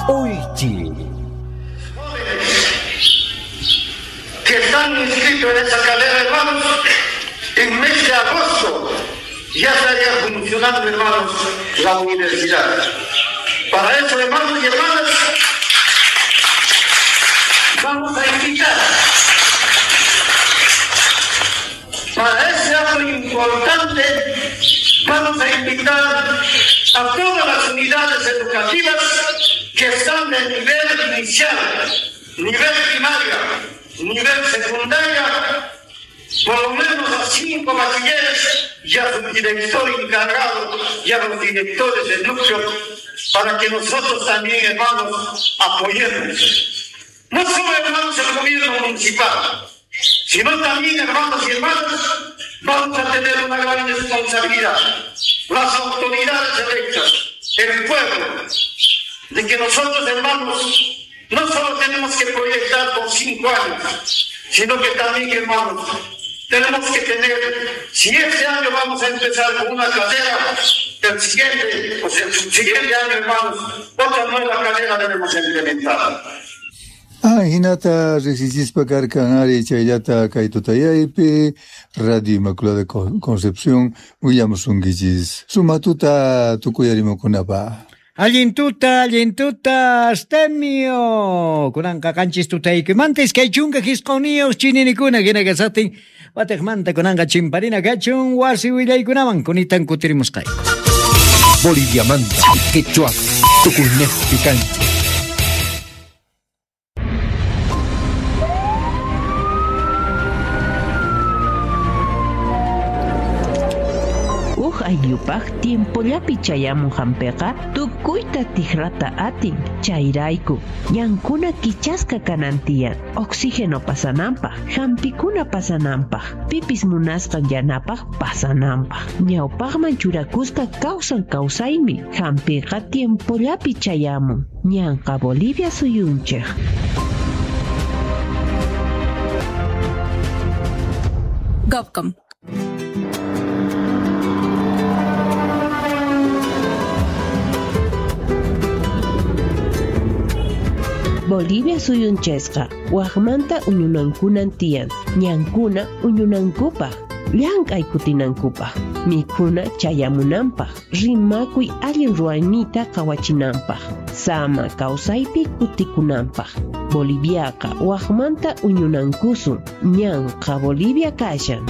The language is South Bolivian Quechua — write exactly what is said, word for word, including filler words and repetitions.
Uychi. Que están inscritos en esa carrera, hermanos, en mes de agosto ya estaría funcionando, hermanos, la universidad. Para eso, hermanos y hermanas, vamos a invitar para ese acto importante, vamos a invitar a todas las unidades educativas que están de nivel inicial, nivel primaria, nivel secundaria, por lo menos a cinco bachilleres y a su director encargado y a los directores del núcleo, para que nosotros también, hermanos, apoyemos. No solo, hermanos, el gobierno municipal, sino también, hermanos y hermanas, vamos a tener una gran responsabilidad. Las autoridades electas, el pueblo, de que nosotros, hermanos, no solo tenemos que proyectar por cinco años, sino que también, hermanos, tenemos que tener, si este año vamos a empezar con una carrera, el siguiente, o sea, el subsiguiente año, hermanos, otra nueva carrera debemos implementar. Ah, hinata riqsichispa karkan ari chayllata kay tutayaypi Radio Inmaculada Concepción willamusunkichis sumatuta tukuyarimukunapaq. Allin tuta, allin tuta, Astemio. Kunanqa qanchis tutaykumanta iskay chunka hisquniyuq chininikuna hina kasaqtin wataqmanta kunanqa chimparina kachun wasi willaykunaman kunitan kutirimusqayku. Boliviamanta, Quechua, tukuynejpi kanchik. Ayllupaj tiempollapi chayamun hampiqa tukuyta tikrata atin chayrayku ñankuna kichasqa kanan tiyan oxígeno pasananpaj hampikuna pasananpaj pipis munasqan yanapaj pasananpaj ñawpaqman churakusqa kawsan kawsaymi hampiqa tiempollapi chayamun ñanqa Bolivia suyunchej. Govcom. Bolivia suyunchesqa waqmanta uñunankunan tiyan ñankuna uñunankupaj llank'ay kutinankupaj mikhuna chayamunanpaj rimakuy allin ruwaynita qhawachinanpaj sama kawsaypi kutikunanpaj Boliviaqa waqmanta uñunankusun ñanqa Bolivia kashan.